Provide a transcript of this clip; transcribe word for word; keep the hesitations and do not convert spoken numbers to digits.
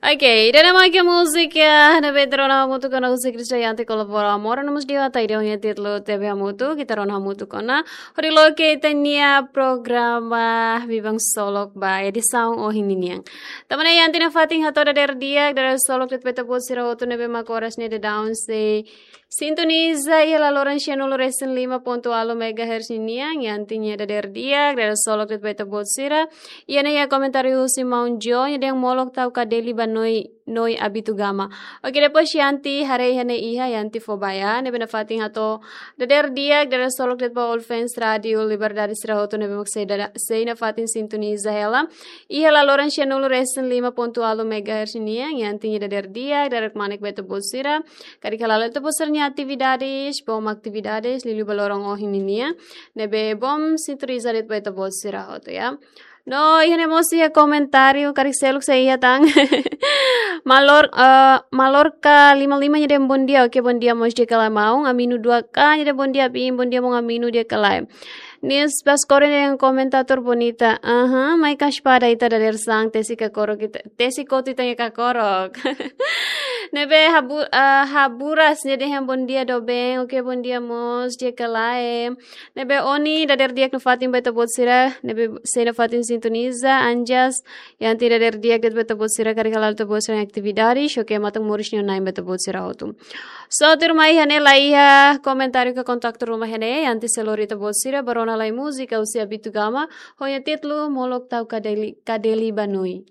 Oke, ida-ne'e mak múzika ne'ebé ita rona hamutuk ona husi Krisdayanti Kolabora Amor, nomós dia ata ida ho nia títulu Tebe Hamutuk, ita rona hamutuk ona. Hodi loke ita-nia programa Biban Ksolok ba edisaun ohin ninian. Tanba ne'e Yanti nafatin hato'o dadeer di'ak, dadeer ksolok de'it ba ita-boot sira hotu ne'ebé mak oras ne'e daudaun sei sintoniza iha laloran sianulu resin lima pontu ualu megahertz ninian, Yanti nia dadeer di'ak, dadeer ksolok de'it ba ita-boot sira. Iha ne'e iha komentáriu husi maun Jo, nia dehan molok tau kadeli ba Noi, Noi Abitugama. Oke, depois Yanti haree iha ne'e iha, Yanti fó ba iha, ne'ebé nafatin hato'o dadeer di'ak, dadeer ksolok de'it ba all fans Rádio Liberdade sira hotu ne'ebé mak sei dada-, sei nafatin sintoniza hela. Iha laloran sianulu resin lima pontu ualu megahertz ninian, Yanti nia dadeer di'ak, dadeer kmanek ba ita-boot sira. Karik hala'o ita-boot sira-nia atividades, boom atividades, liuliu ba loron ohin ninian. Ne'ebé boom sintoniza de'it ba ita-boot sira hotu, ya. No, iha ne'e mós iha komentáriu, karik seluk sei iha tan. Malor, eh, Malorka lima lima nia dehan bondia, oke, bondia mós di'ak ka lae maun, Aminu dua K nia dehan bondia, bin, bondia maun Aminu di'ak ka lae. Nis Baskoro nia dehan komentatór bonita, aha, mai ka espada ita dadeer-saan, tesi kakorok ita, tesi kotu ita-nia kakorok. Ne'ebé Habu-, eh, Haburas nia dehan bondia doben, oke, bondia mós di'ak ka lae. Ne'ebé Oni, dadeer di'ak nafatin ba ita-boot sira, ne'ebé sei nafatin sintoniza, Anjas, Yanti dadeer di'ak de'it ba ita-boot sira, karik hala'o ita-boot sira-nia atividades, oke, matan moris nia na'in ba ita-boot sira hotu. So, tuirmai iha ne'e la iha komentáriu ka kontaktu ruma iha ne'e, Yanti sei lori ita-boot sira ba rona lai múzika husi Abitugama, ho nia títulu molok tau kadeli, kadeli ba Noi.